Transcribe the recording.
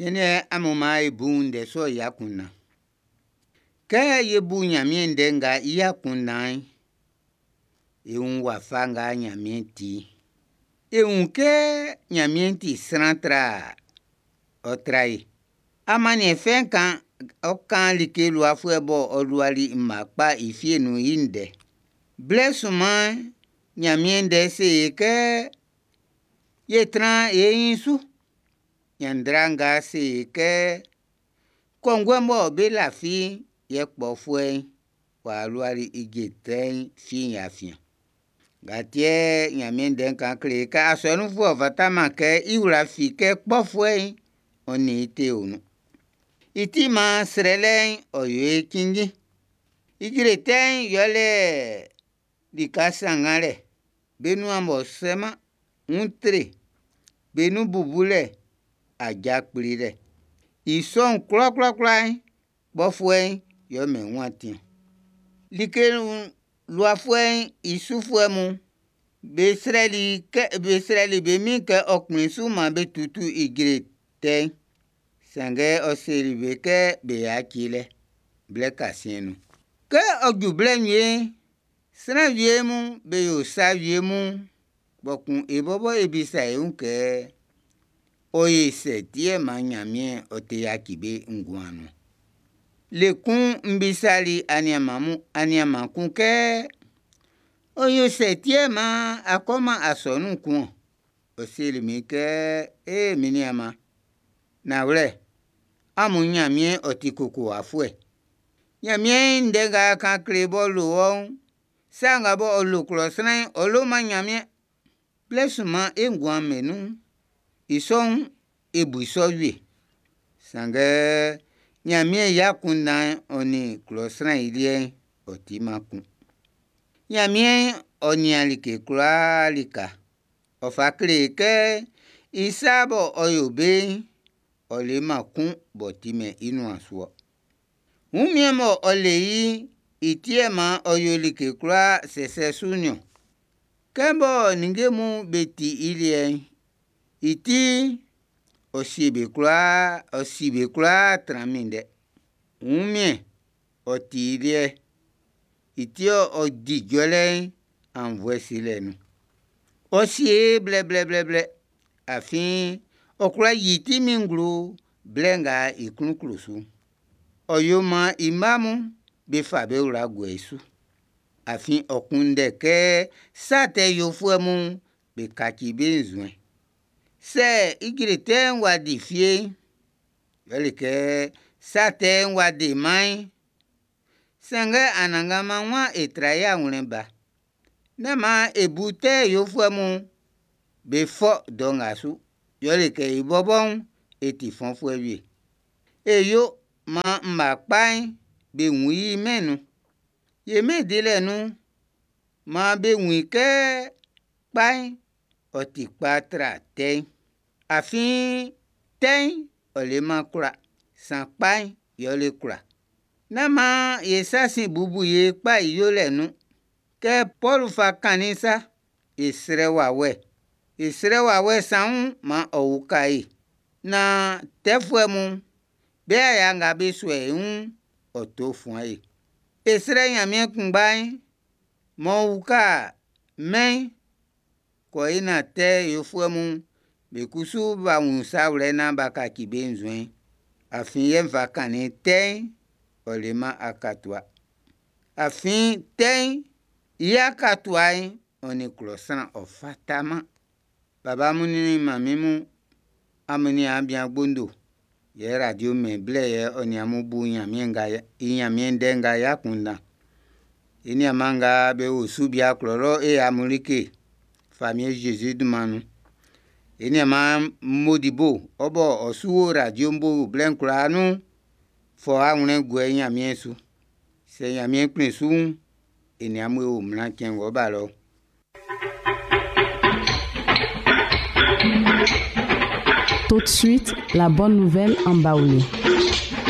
Siɛn'n amun maan e bu ndɛ sɔ'n i akunndan. Kɛ e bu Ɲanmiɛn ndɛ nga i akunndan'n, e wun wafa nga Ɲanmiɛn ti'n. E wun kɛ Ɲanmiɛn ti sran tra ɔ tra e. Amanniɛn fɛ'n kan ɔ kan like luafuɛ bɔ ɔ luali mma kpa i fie nun'n i ndɛ. Blɛ sunman'n, Ɲanmiɛn ndɛ se e kɛ ye tran e ɲin su. Ɲanndra nga se e kɛ kɔnguɛ mɔ be lafi'n yɛ kpɔfuɛ'n wa luali ijre tɛ'n fie'n i afiɛn. Nga ti yɛ Ɲanmiɛn Ndɛ'n kan kle e kɛ asɔnunfuɛ'n ɔ fataman kɛ i wla fi kɛ kpɔfuɛ'n ɔ nin i te o nun. I ti maan srɛlɛ'n ɔ yo e cinnjin. Ijre tɛ'n yɛle lika sannganlɛ, be nuan m'ɔ sɛman'n, utre, be nun bubulɛ, aja kplilɛ. I sɔ'n kwlakwlakwla'n, kpɔfuɛ'n yɛ ɔ mɛn i wun atin ɔn. Like luafuɛ'n i sufuɛ mun be srɛli be srɛli be min'n kɛ ɔ kplin su maan be tutu ijre tɛ'n. Sanngɛ ɔ seli be kɛ be yaci i lɛ blɛ kasiɛn'n nun. Kɛ ɔ ju blɛ wie'n, sran wie mun be yo sa wie mun, kpɔkun e bɔbɔ e bisa e wun kɛ ɔ yo sɛ ti yɛ maan Ɲanmiɛn ɔ te yaci be nguan nun. Le kun n bisali aniaan kun kɛ? Ɔ yo sɛ ti yɛ maan a kɔman asɔnun kun ɔn? Ɔ seli min kɛ, “Ee, min niaan, nanwlɛ, amun Ɲanmiɛn'n ɔ ti kokowafuɛ. Ɲanmiɛn i ndɛ nga a kan kle i b'ɔ lo wɔ'n, sa nga b'ɔ lo klɔ sran'n, ɔ loman Ɲanmiɛn.” Blɛ sunman e nguan'n nun'n, i sɔ'n e bu i sɔ wie. Sanngɛ Ɲanmiɛn i akunndan'n ɔ nin klɔ sran i liɛ'n, ɔ timan kun. Ɲanmiɛn ɔ nian like kwlaa lika. Ɔ fa kle e kɛ i sa bɔ ɔ yo be'n, ɔ leman kun b'ɔ timɛn i nuan su ɔ. Wunmiɛn mɔ ɔ le i'n, i ti yɛ maan ɔ yo like kwlaa sɛsɛ su'n niɔn. Kɛ mɔ ninnge mun be ti i liɛ'n, i ti'n, ɔ sie be kwlaa, ɔ si be kwlaa tran minndɛ. Wunmiɛn'n, ɔ ti i liɛ. I ti yɛ ɔ di jɔlɛ'n aunnvuɛ silɛ nun. Ɔ sie e blɛblɛblɛ, afin ɔ kwla yi i tinmin'n nglo blɛ nga i klun klo su'n. Ɔ yo maan i mma mun be fa be wla guɛ i su. Afin ɔ kunndɛ kɛ sa tɛ yofuɛ mun be kaci be nzuɛn'n. Sɛ ijre tɛ'n w'a di fie'n, yɛle kɛ sa tɛ'n w'a deman'n, sanngɛ Anannganman waan e tra e awlɛn ba. Nán maan e bu tɛ yofuɛ mun be fɔ dɔ nga su. Yɛle kɛ e bɔbɔ'n, e ti fɔnfuɛ wie. E yo maan mma kpa'n be wun i mɛn'n nun. Ye mɛn dilɛ nun'n, maan be wun i kɛ kpa'n ɔ ti kpa tra tɛ'n. Afin tɛ'n ɔ leman kwla, san kpa'n yɛ ɔ le kwla. Nán maan e sa sin bubu ye kpa i yolɛ'n nun. Kɛ Pɔlu fa kannin'n sa, e srɛ wawɛ, e srɛ wawɛ saun'n maan ɔ uka e naan tɛfuɛ mun be aya nga be sua e wun'n, ɔ to fuan e. E srɛ Ɲanmiɛn kunngba'n m'ɔ uka mɛn'n kɔ i naan tɛ yofuɛ mun be kusu b'a wun sa wlɛ naan b'a kaci be nzuɛn'n. Afin yɛ n fa kannin tɛ'n, ɔ leman akatua. Afin tɛ'n i akatua'n, ɔ nin klɔ sran ɔ fataman. Baba mun nin manmin mun, amun niaan bian Gbondo, yɛ radio mɛn blɛ yɛ ɔ nin amun bu Ɲanmiɛn nga i Ɲanmiɛn ndɛ nga i akunndan. E niaanman nga be o Subia klɔ lɔ e amun like Famiɛn Zezi dunman nun. E niaanman Modibo, ɔ bɔ ɔ su wo radio bo blɛ'n kwlaa nun, fɔ awlɛn guɛ i Ɲanmiɛn su. Sɛ Ɲanmiɛn kplin su'n, e nin amun e wo mlan cɛn ng'ɔ ba lɔ. Tout de suite, la bonne nouvelle en Baoulé.